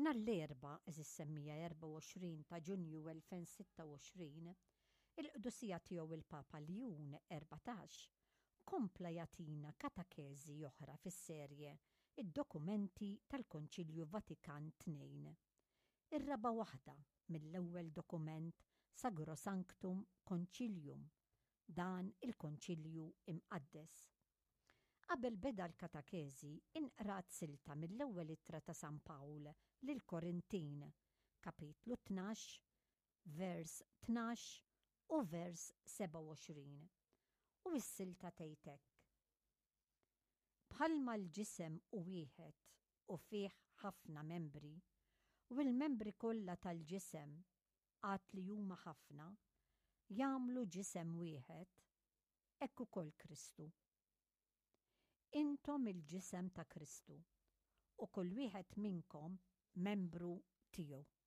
Nhar l-Erbgħa, għeżież semmiegħa 24 ta' Ġunju 2026, il-Qdusija Tiegħu il-Papa Ljun 14 kompla jagħtina katakeżi oħra fis-serje Id-Dokumenti tal-Konċilju Vatikan Tnejn. Ir-raba' waħda mill-ewwel dokument Sagrosanctum Concilium, dan il-Konċilju Imqaddes. Qabel beda l-katakeżi, inqrat silta mill-ewwel ittra ta' San Pawl lill-Korintin, kapitlu 12, vers 12 u vers 27. U s-silta tgħid hekk, Bħalma l-ġisem hu wieħed u fih ħafna membri, u l-membri kollha tal-ġisem, għad li huma ħafna, jagħmlu ġisem wieħed, hekk ukoll Kristu. Intom il-ġisem ta' Kristu, u kull wieħed minnkom membru tiegħu.